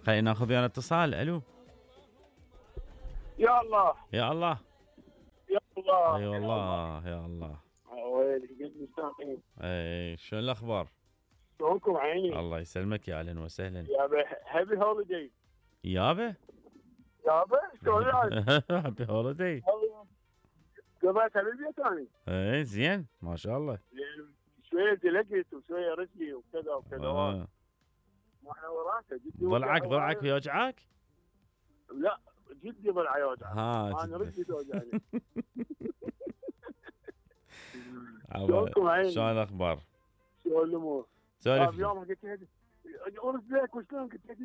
خلينا ناخذ ويانا اتصال. الو يا الله يا الله. يا الله اي والله يا الله. ويلي قد مستانسين. اي شلون الاخبار؟ شلونكم عيني؟ الله يسلمك يا اهلا وسهلا. يابا هابي هوليداي. يابا يابا شلون العاد؟ هابي هوليداي. قضيتها بالبيت اني. اي زين ما شاء الله. شويه دلقت وشويه رجلي وكذا وكذا. ما احنا وراسه جدي. ضلعك يوجعك؟ لا جدي ضلع يوجع. انا رجلي توجعني. شلونكم عيني؟ شلون الاخبار؟ شلون الامور؟ سولف. يوم قلت له ارد لك وشلون قلت له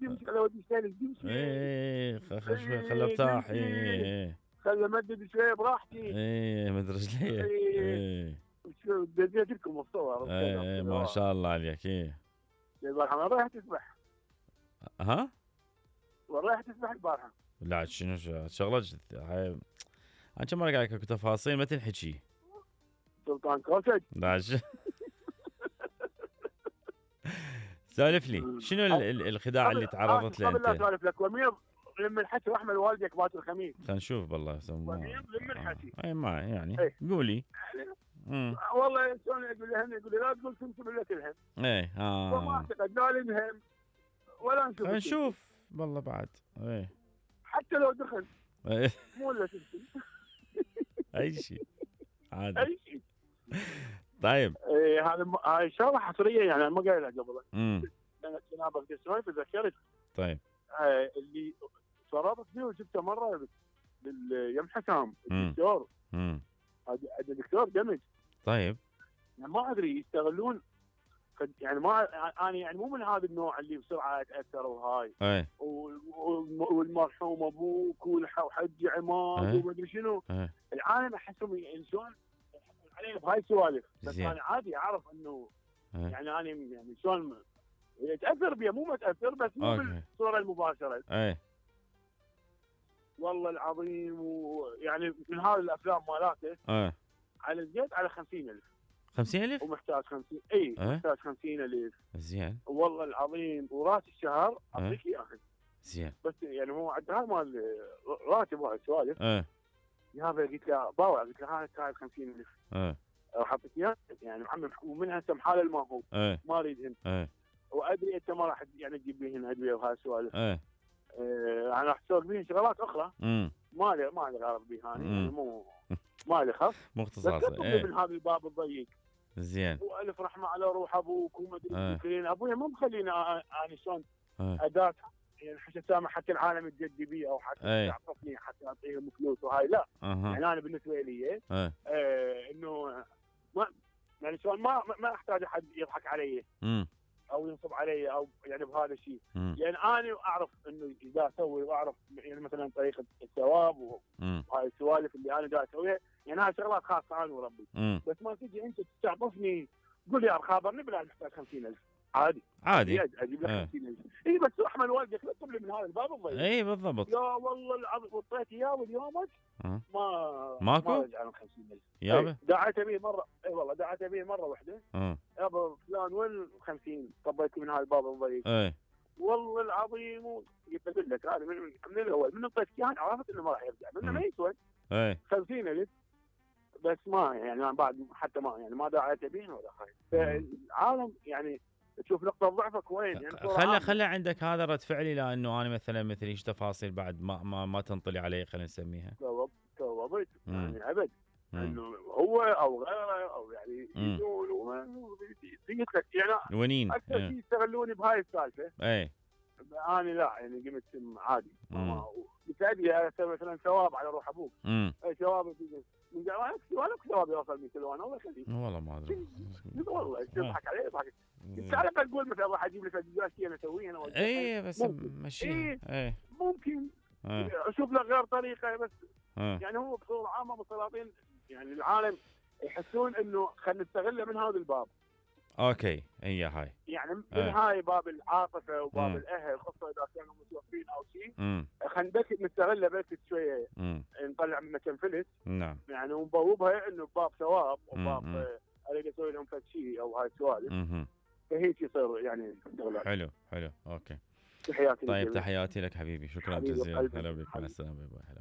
تمشي على ودي ثاني تمشي. اي خل ارتاح. اي خل امدد شويه براحتي. اي مد رجلي. اي بديت لكم الصور. اي ما شاء الله عليك. اي البارحه ما رايح تسبح؟ ها؟ رايح تسبح البارحه؟ لا شنو شغله هاي انا كم مره قاعد اكو تفاصيل ما تنحكي. سلطان كوسج. لا سالف لي شنو الخداع اللي تعرضت له انت؟ قبل لا انت؟ اسولف لك ومير لم الحكي رحمه والديك بات الخميس. خلينا نشوف بالله ومير لم الحكي. اي ما يعني ايه. قولي. والله شلون يقول لي لا تقول تنسب الا تلهم. ايه وما اعتقد لا ننهم ولا نشوف. خلينا نشوف والله بعد. ايه حتى لو دخل. ايه مو الا تنسب. اي شيء عادي. اي شيء. طيب ايه هاي شغله حصريه يعني انا ما قايلها قبل. انا جنابك تسوي تذكرت. طيب اللي صرفت فيه وشفته مره باليم حسام الدكتور. هذا الدكتور دمج. طيب يعني ما ادري يستغلون يعني ما انا يعني مو من هذا النوع اللي بسرعه اتاثر وهاي. اي والمرحوم ابوك وحج عماد وما ادري شنو. العالم احسهم شلون عليه بهاي السوالف. بس انا عادي اعرف انه يعني انا يعني شلون يتاثر بيه مو متاثر بس مو بالصوره المباشره. اي والله العظيم. ويعني من هذه الافلام مالاته على الزيت على 50,000. 50,000 ومحتاج 50. اي محتاج 50,000. زين والله العظيم. وراس الشهر اعطيك اياه زين. بس يعني هو عندها مال راتب وهاي السوالف. يابا قلت له باوع قلت له هاي 50,000 راح اعطيك اياه يعني محمد. ومن هسه محال ما هو ما اريدهن. وادري انت ما راح يعني تجيب لي هنا ادويه وهاي السوالف. انا راح اسوق بيهن شغلات اخرى. ما لي غرض بيها يعني مو ما لي خف. مو اختصاص. من هذا الباب الضيق. زين. والف رحمه على روح ابوك وما ادري. ابويا ما مخليني انا شلون اداه يعني حتى سامح حتى العالم يتجدي بي او حتى يعطفني حتى اعطيهم فلوس وهاي لا. يعني انا بالنسبه لي انه ما يعني شلون ما احتاج احد يضحك علي او ينصب علي او يعني بهذا الشيء. يعني انا اعرف انه اذا اسوي واعرف يعني مثلا طريقه الثواب وهاي السوالف اللي انا دا اسويها يعني هاي شغلات خاصه انا وربي. بس ما تجي انت تستعطفني تقول لي خابرني بلا محتاج 50,000 عادي اجيب لك 50,000. اي بس احمد والدك لا تطلب لي من هذا الباب الضيق. اي بالضبط. يا والله العظيم وطيت اياه واليومك ماكو ما رجع 50,000 يابا. دعيت به مره. اي والله دعيت به مره واحده. يابا فلان وين 50 طبيت من هذا الباب الضيق. والله العظيم. قلت اقول لك هذا من الاول من طيت اياه عرفت انه ما راح يرجع منه ما يسوى 50,000 بس ما يعني بعد حتى ما يعني ما دعيت به ولا خايف. فالعالم يعني تشوف نقطة ضعفك وين يعني. خلى عندك هذا رد فعلي لانه انا مثلا مثل ايش تفاصيل بعد ما تنطلي علي خلينا نسميها. توضيت يعني ابد انه هو او غيره او يعني يجون يعني ونين اكثر شيء يستغلوني بهاي السالفة. انا لا يعني قمت عادي. بتأدي مثلا ثواب على روح ابوك. ثواب من جوانك ثواب يوصل 100 كيلو. انا الله يخليك والله ما ادري والله يضحك علي يضحك. انت على الاقل تقول مثلا راح اجيب لك شيء انا اسويه انا. اي بس ماشي. ممكن اشوف له غير طريقه بس. يعني هو بصوره عامه بالسلاطين يعني العالم يحسون انه خلينا نستغله من هذا الباب. اوكي هي هاي يعني من هاي باب العاطفه وباب الاهل خاصه اذا كانوا متوفين او شيء. خلينا بس نستغله بس شويه نطلع منه كم فلس. نعم. يعني ونبوبها انه باب ثواب وباب اريد اسوي لهم فد شيء او هاي السوالف. فهيك يصير يعني حلو اوكي. تحياتي طيب للجميع. تحياتي لك حبيبي، شكرا حبيبي جزيلا، قلبي. هلا بك، مع حبيبي. السلامه. باي باي.